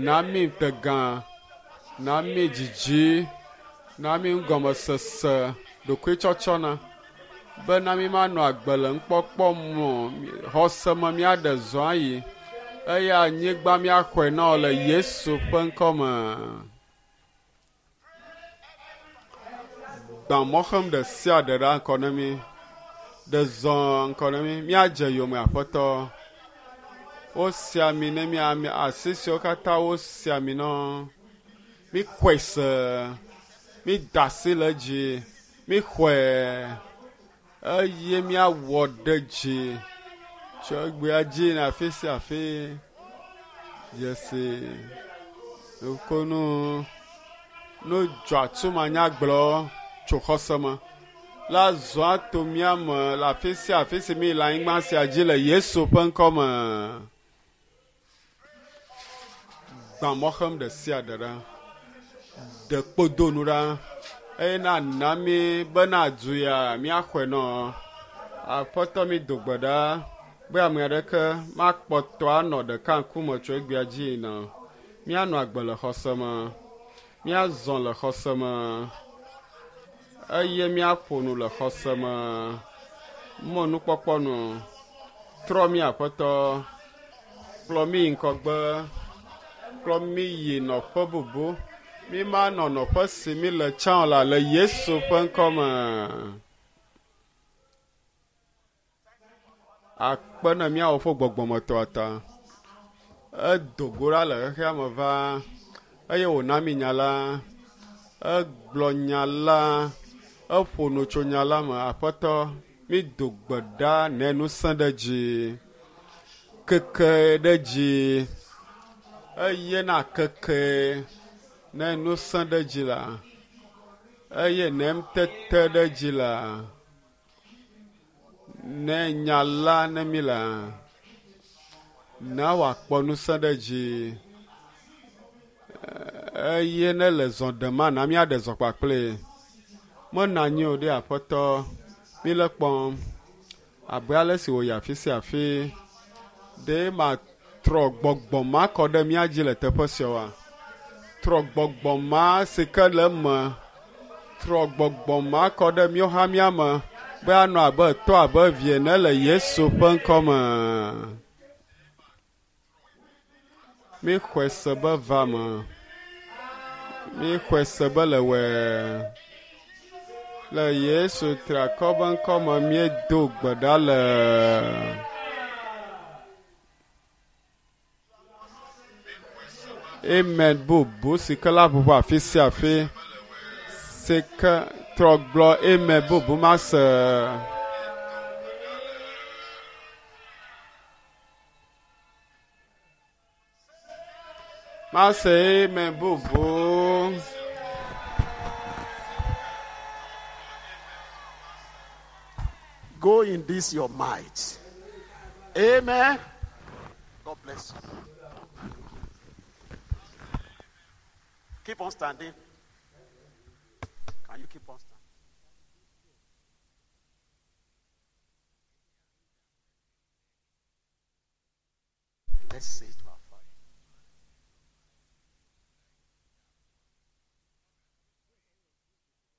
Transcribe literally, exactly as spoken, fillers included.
Na mi ŋutegã, na mi dzidzi, na mi ŋgɔmesese, ɖokuitsɔtsɔna bena mi manɔ agbe le nukpɔkpɔ me o. Xɔse me míaɖe zɔ ayi eye anyigba míaxɔe na wò le Yesu ƒe ŋkɔme. Gbã mɔxem ɖe sia ɖe ɖa ŋkɔ na mi. Ɖe zɔ ŋkɔ na mi. Míadze yome aƒetɔ. Wosi ami ne mi ame asi siwo katã wosi ami na. Mixɔe se. Mida asi le edzi. Mixɔe eye míawɔ ɖe dzi. Tso egbea dzi na afi sia afi. Dzesi. Nukunu. Nu dzɔatsu manyagblɔ tso xɔse me. La zɔ ato mía me le afi sia afi si mi le anyigba sia dzi le Yesu ƒe ŋkɔme. Gbã mɔxem ɖe sia ɖe ɖa. Ɖe kpodonu ɖa. Eye na na mi bena du ya míaxɔe nɔ. Aƒetɔ mi do gbe ɖa be ame aɖeke makpɔtɔ anɔ ɖeka ŋkume tso egbea dzi yina. Míanɔ agbe le xɔse me. Míazɔ le xɔse me. Eye míaƒo nu le xɔse me. Mɔnukpɔkpɔ nu. Trɔ mí aƒetɔ. Kplɔ mí yi ŋgɔgbe. Kplɔ mí yi nɔƒe bubu. Mi manɔ nɔƒe si mi le tsã o la le Yesu ƒe ŋkɔme. Akpe ne míawɔ ƒe gbɔgbɔmetɔa ta. Edo go ɖa le xexea me va eye wòna mi nya la. Egblɔ nya la. Eƒo nu tso nya la me. Aƒetɔ, mi do gbe ɖa ne ŋusẽ ɖe dzi. Keke ɖe dzi. Eye na keke ne ŋusẽ ɖe dzi la. Eye ne ŋutete ɖe dzi la. Ne nya la ne mi la. Na wòakpɔ ŋusẽ ɖe dzi. Eye ne le zɔ ɖem na míaɖe zɔ kpakple. Menɔ anyi o ɖe aƒetɔ. Mi le kpɔm. Abe ale si wòyi afi sia afi. Ɖe matrɔ gbɔgbɔ ma kɔ ɖe mía dzi le teƒe sia oa? Trɔ gbɔgbɔ ma si ke le eme. Trɔ gbɔgbɔ ma kɔ ɖe míawo hã mía me be anɔ abe tɔ abe vi ene le Yesu ƒe ŋkɔme. Mixɔe se be va me. Mixɔe se be le wɔe. Le Yesu triakɔ be ŋkɔme míedo gbe ɖa le. Amen bubu si ke la ʋuʋu afi sia afi. Si ke trɔ gblɔ amen bubu ma se. Ma se amen bubu. Go in this your might. Amen. God bless you. Keep on standing. Can you keep on standing? Let's say it.